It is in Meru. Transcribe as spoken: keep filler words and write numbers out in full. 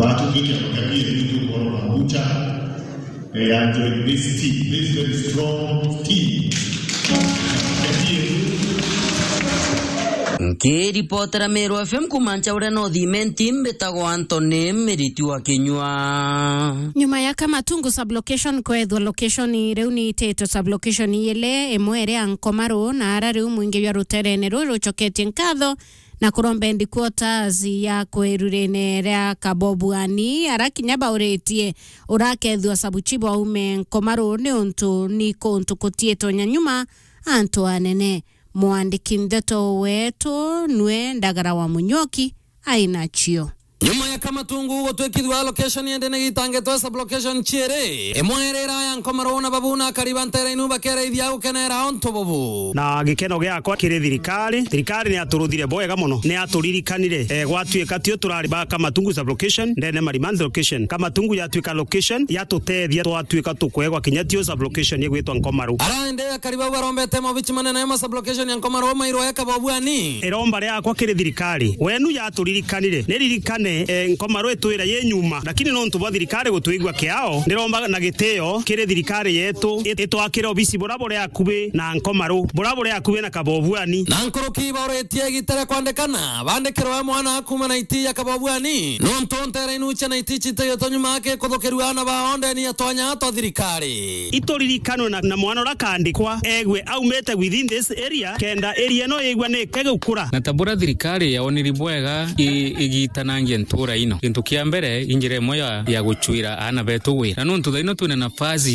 Batutwike mukabie bitu kuona na mucha. They are doing this team, this very strong team. Nkiripotera Meru F M kuma Nchaure North Imenti, mbitagwa Anthony Miriti wa Kinyua. Nyuma ya Kamatungu sublocation kwethwa location, riu ni ititwe sublocation ile, imwe iri ya Nkomaru, na ara riu mwingi jwa ruterene ruu rucoketie nkatho na kuromba headquarters ya kwerurene ria Kabobuani, ara kinya bauritie urakethua sabuchibu aume Nkomaru, ni untu ni kuntu kutiitwe nyanyuma antu anene. Mwandiki ndeto wetu nwe Ndagara wa Munyoki ainacio. Nyuma ya Kamatungu gutwikithua location ende ni gitangitwe sublocation chiiri, imwe iri ira ya Nkomaru na babu na akari ba nteere inu bakereithia gukenera untu bubu. Na gikeno giakwa kiri thirikari. Thirikari ni yaturuthire bwega mono, ni yaturirikanire. Eh, gwatuika tio turari ba Kamatungu sublocation, ndene Marimanthi location. Kamatungu yatuika location, yatutethia twatuika tukwegwa kinya tio sublocation igwitwa Nkomaru. Ara indi akari bau barombete maobichi manene ya masublocation ya Nkomaru mairwe Kabobuani. Iromba riakwa kiri thirikari, wenu yaturirikanire, niririkane, eh, Nkomaru itwira yi nyuma, lakini nontu bwa thirikari gutwigua kiao, ndiromba na gitio kiri thirikari yetu it-, itwakire obisi bura buri akubi na Nkomaru, bura buri akubi na Kabobuani. Na nkuruki bauritie igita ria kwandikana, bandikirwe mwana kuuma na iti ya Kabobuani, nontu nteere inu cia na iti citiyetwe nyuma aki kuthukirua ana bao ndeni ya twanya twa thirikari. Ituririkanwe na, na mwana uria akandikwa, egwe aumite within this area, kenda area ino yigua ni kegukura. Na ta buria thirikari yaoniri bwega i-, igitanangia ntura ino, gintu kia mbere, i njira imwe ya, ya gucwira aana betu wira. Na nontu thaino twina nafasi